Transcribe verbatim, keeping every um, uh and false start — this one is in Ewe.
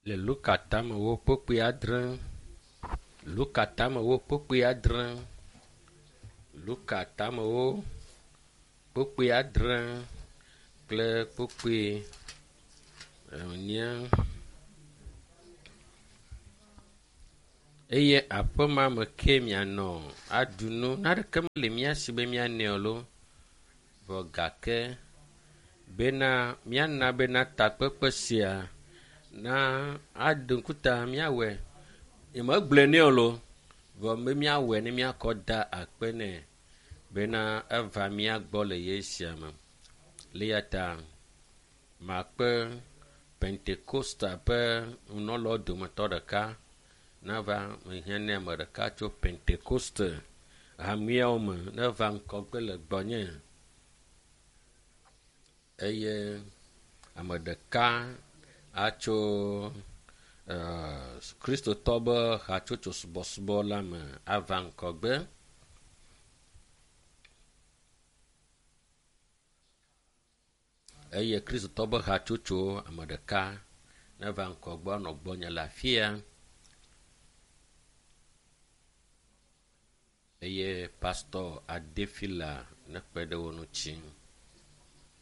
Le Luka tamewo kpokpoe adre. Luka tamewo kpokpoe adre. Luka tamewo kpokpoe adre kple kpokpoe enye. Eye aƒe ma me ke mianɔ aɖu nu. Naneke mele mía si be míanɛ o loo. Vɔ gake bena míana bena takpekpe sia na aɖe ŋkuta míawɔe. Nyemegblɔe nɛ o loo. Vɔ be míawɔe ne míakɔ da akpe nɛ bena eva mía gbɔ le ye sia me. Le eya ta makpe Pentekosta ƒe nunɔlawo dometɔ ɖeka nava mehiã ne ame ɖeka tso Pentekoste hameawo me neva ŋgɔgbe le gbɔnye eye ame ɖeka atso eh, Kristotɔ be hatsotso subɔsubɔ la me ava ŋgɔgbe. Eye Kristotɔ be hatsotso ame ɖeka neva ŋgɔgbe anɔ gbɔnye le afia. Eye pastɔ Adefila nekpe ɖe wo ŋuti.